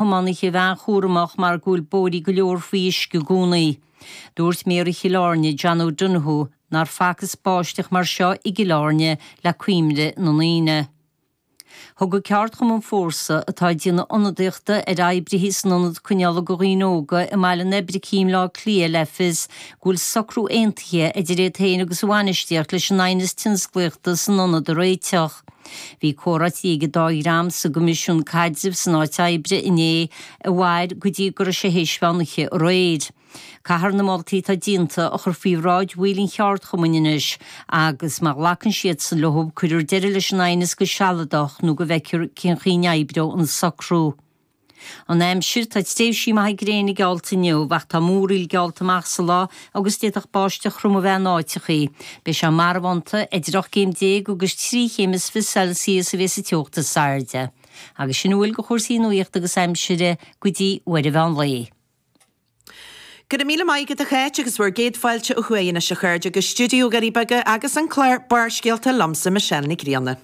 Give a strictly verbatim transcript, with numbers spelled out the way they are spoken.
thiománaithe a bheith an-chúramach mar go bhfuil bóithrí go leor faoi uisce i gcónaí. Dúirt Méara Chill Airne, John O'Donoghue, nár facthas báisteach mar seo i gCill Airne le cuimhne na ndaoine. Thug an ceardchumann Fórsa, atá ag déanamh ionadaíochta ar oibrithe san ionad coinneála do dhaoine óga i mBaile an Oibricigh i mBleá Cliath le fios go bhfuil socrú aontaithe idir iad féin agus a bhainistíocht leis an aighneas tionsclaíochta san ionad a réiteach. Bhí comhráití ag an dá dhream sa gCoimisiún Caidrimh san Áit Oibre inné a mhair go dtí go raibh sé théis mheán oíche aréir. Caithfear na moltaí atá déanta a chur faoi bhráid bhaill an cheardchumainn anois agus má ghlacann siadsan leo cuirfear deireadh leis an aighneas go sealadach nó go bhfeicfear cén chaoi a n-oibreoidh an socrú. An aimsir, Tá tréimhsí maithe gréine geallta inniu ach tá múraíl geallta amach sa lá agus d'fhéadfadh báisteach throm a bheith in áiteachaí. Beidh sé marbhánta, idir ocht gcéim déag agus trí chéim is fiche Celsius a bheas an teocht is airde. Agus sin a bhfuil de chúrsaí nuachta agus aimsire go dtí uair an mheán lae. Go raibh míle maith agat a Cháit agus bhur gcéad fáilte ó thuaidh anois a chairde go stiúideo Dhoirí Beaga agus an clár Barrscéalta liomsa Michelle Nic Grianna.